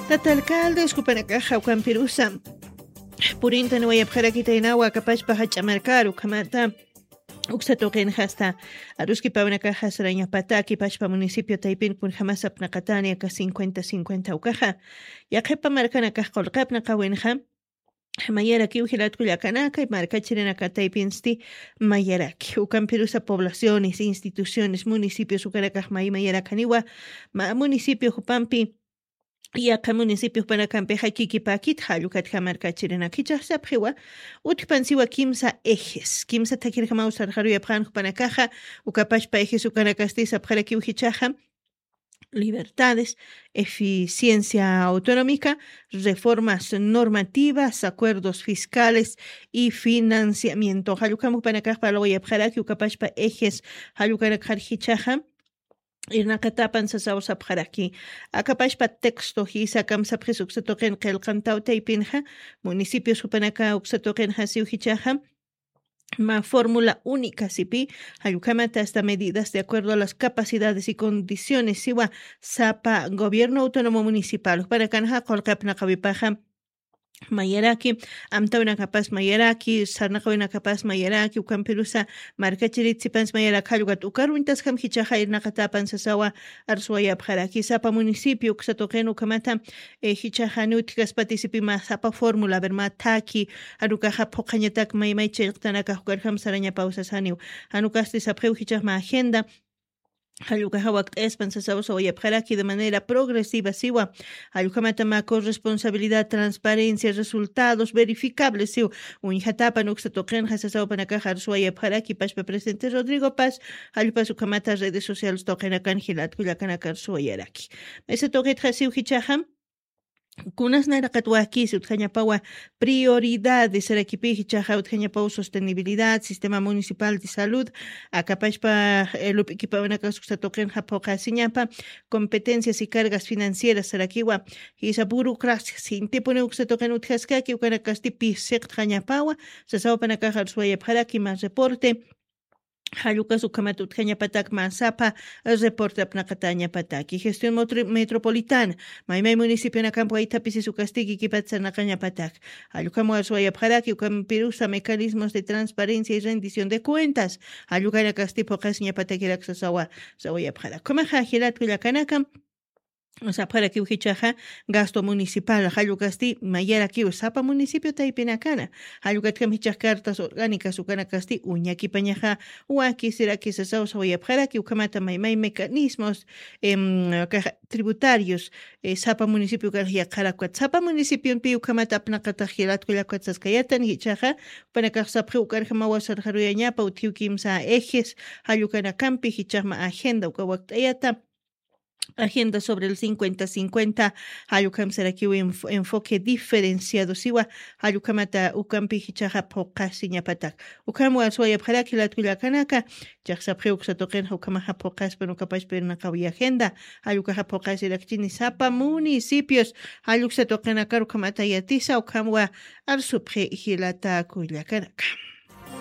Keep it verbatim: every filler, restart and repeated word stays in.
Tata alcaldes jupanakaxa ukampirusa purintan wayapxarakitaynawa akapachpa jach'a markaru ukhamata uksa tuqinxa asta aruskipawnakaxa sarañapataki pachpa municipio taypin kunjamas apnaqatani aka cincuenta cincuenta ukaxa yaqhipa markanakax qulqapnaqawinxa mayarakiw jilatkullakanakay markachirinakataypinsti mayaraki ukampirusa poblaciones instituciones municipios ukanakax may mayarakaniwa ma municipio jupampi yaqha municipio jupanakampixa kikipakit jallukatja markachirinak jichaxsapxiwa utjpansiwa kimsa ejes kimsa thakirjamaw sarxaruyapxan jupanakaxa ukapachpa ejes ukanakasti sapxarakiw jichaxa libertades, eficiencia autonómica, reformas normativas, acuerdos fiscales y financiamiento. Jallukamupanakaxpa lawayapxaraki ukapashpa ejes jallukanakxar jichaxa irnaqatapan sasaw sapxaraki akapashpa texto jisa kamsapxis uksa tuqin qillqantaw taypinxa municipios jupanaka uksa tuqin jasiw jichaxa ma fórmula única sipi jallukhamata hasta medidas de acuerdo a las capacidades y condiciones siwa sapa gobierno autónomo municipal jupanakanxa qulqapnaqawipaxa mayaraki amtawinakapas mayaraki sarnaqawinakapas mayaraki ukampirusa markachirit sipans mayarak jallukat ukaruñtaskam jichaxa irnaqatapan sasawa arsuwayapxaraki sapa municipio uksa tuqin ukhamata jichaxani utjkaspati sipi ma sapa fórmula aver ma thaki janukaxa phuqhañatak maymay chillqtanakax ukarjam sarañapaw sasaniw janukasti sapxiw jichax ma agenda jallukaxa wakt'ayaspan sasaw sawayapxaraki de manera progresiva siwa jallukhamata ma corresponsabilidad transparencia resultados verificables siw uñjatapan uksa tuqinxa sasawapanakaxa arsuwayapxaraki pashpa presidente Rodrigo Paz jallupas ukhamata redes sociales tuqinakan jilatkullakanakar suwayaraki maysa tuqitxa siw jichaxam kunas nayraqat wakisi utjañapawa prioridades sarakipi jichaxa utjañapaw sostenibilidad sistema municipal de salud akapashpa lup'ikipawanakas uksa tuqinxa phuqasiñapa competencias y cargas financieras sarakiwa jisa burocracias jintipuni uksa tuqin utjaskaki ukanakasti pisiqtjañapawa sasawapanakaxa arsuwayapxaraki ma reporte jallukas ukhamat utjañapatak ma sapa reporte apnaqatañapataki gestión metropolitana maymay municipionakampa waythapisis ukasti kikipat sarnaqañapatak jallukham warsuwayapxaraki ukampirusa mecanismos de transparencia y rendición de cuentas jallukanakasti phuqasiñapatakirak sasawa sawayapxarak ukhamaxa jilatkullakanakam sapxarakiw jichaxa gasto municipal jallukasti mayarakiw sapa municipio taypinakana jallukatjam jichax cartas orgánicas ukanakasti uñakipañaxa wakisiraki sasaw sawayapxaraki ukhamata maymay mecanismos tributarios sapa municipio ukanx yaqharakwat sapa municipionpi ukhamata apnaqatax jilatkullakwat saskayatan jichaxa upanakax sapxi ukarjamawa sarxaruyañapa utjiw kimsa ejes jallukanakampi jichaxma agenda uka wakt'ayata agenda sobre el cincuenta cincuenta jallukhamsarakiw enfoque diferenciado siwa jallukhamata ukampi jichaxa phuqasiñapatak ukham warsuwayapxaraki latkullakanaka chaxsapxi uksa tuqinxa ukhamaxa phuqaspan ukapashpa irnaqawi agenda jallukaxa phuqasirakchini sapa municipios jalluksa tuqinakar ukhamata yatisa ukhamwa arsupxi jilatakullakanaka